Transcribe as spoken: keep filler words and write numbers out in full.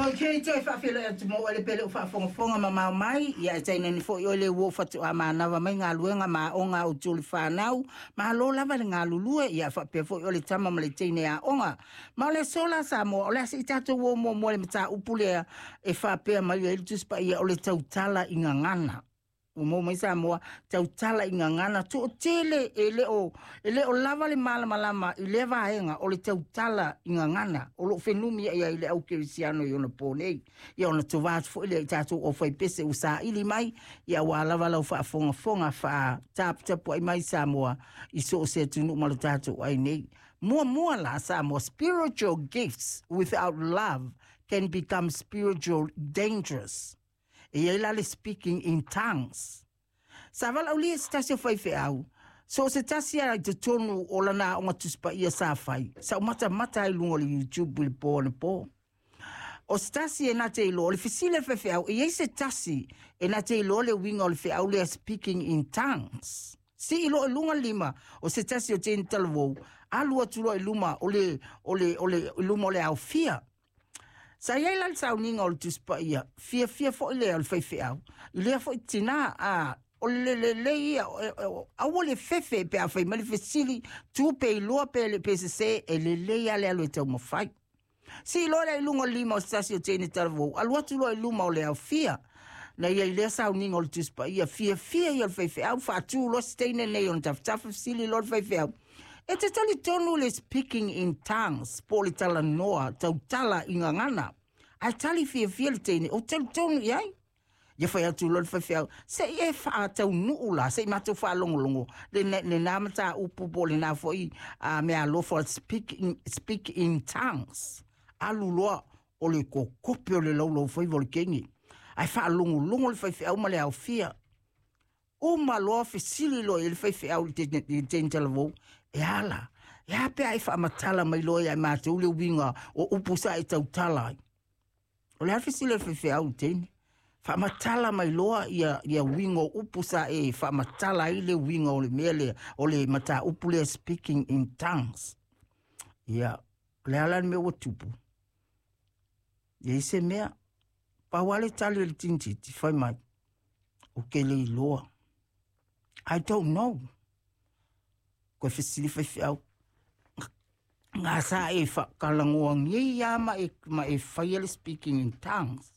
Ok, toe faafeiloai atu mo oe le pele o faafogafoga mamao mai, ia e tainane foi oe le ua faatoa manava mai galuega ma aoga a outou le fanau. Malo lava le galulue, ia faapea foi oe le tama ma le teine aoga. Ma o le aso la Samoa, o le a se i tatou o muamua i le mataupu lea e faapea mai ai le Tusi Paia o le tautala i gagana. Ua maua mai Samoa, tautala i gagana, toatele e le o, e le o lava le malamalama i lea vaega o le tautala i gagana o loo fenumiai ai le au kerisiano i ona po nei. Ia ona tova atu foi lea i tatou aufaipese ua saili mai, ia aua lava lau faafogafoga faataputapuai mai Samoa i so o se atunuu ma lo tatou ai nei. Muamua la Samoa, spiritual gifts without love can become spiritual dangerous. E i ai la le speaking in tongues. Sa valaaulia se tasi o faifeau, so o se tasi a i totonu o lana aoga Tusi Paia sa fai, sa ou matamata ai i luga o le YouTube i le po anapo. O se tasi e na te iloa, o le fesili a le faifeau, e i ai se tasi e na te iloa le uiga o le feau lea speaking in tongues. Sii loa i luga le lima o se tasi o teine talavou, alu atu loa i luma o le, o le, o le, i luma o le aofia. Sa i ai la le sauniga o le Tusi Paia, fiafia foi lea o le faifeau, i lea foi tinā, a, o le lelei ia, aua le fefe pe a fai mai le fesili, tu pe iloa pe le pe sesē, e lelei lava le alu e taumafai. Sii loa lea i luga o le lima o se tasi o teine talavou, alu atu loa i luma o le aofia. Na i ai lea sauniga o le Tusi Paia, fiafia ia o le faifeau, faatu loa se teine nei ona tafatafa, fesili loa le faifeau, E te talitonu le speaking in tongues po o le talanoa tautala i gagana? Ae tali fiafia le teine, Ou talitonu i ai. Ia fai atu loa le faifeau, Se i e faataunuu la, se i matou faalogologo le, lena mataupu po o lena foi uh, meaalofa speak in, speak in tongues. Alu loa o le kokope o le laulaufaiva o le kegi. Ae faalogologo le faifeau ma le aofia. Uma loa fesili loa i le faifeau i le teine talavou, E a la? E a pe a e faamatala mai loa ia i matou le uiga o upu sa e tautala ai? O le a le fesili a le faifeau i le teine? Faamatala mai loa ia, ia uiga o upu sa e faamatala ai le uiga o le mea lea, o le mataupu lea speaking in tongues. Ia, o le a la le mea ua tupu? E i ai se mea, pau lava le tali a le tinititi, fai mai, Ou te le iloa. I don't know. Koe fesili faifeau. Ngā sa e whakalangōangia ia ma e, ma e whaia le speaking in tongues.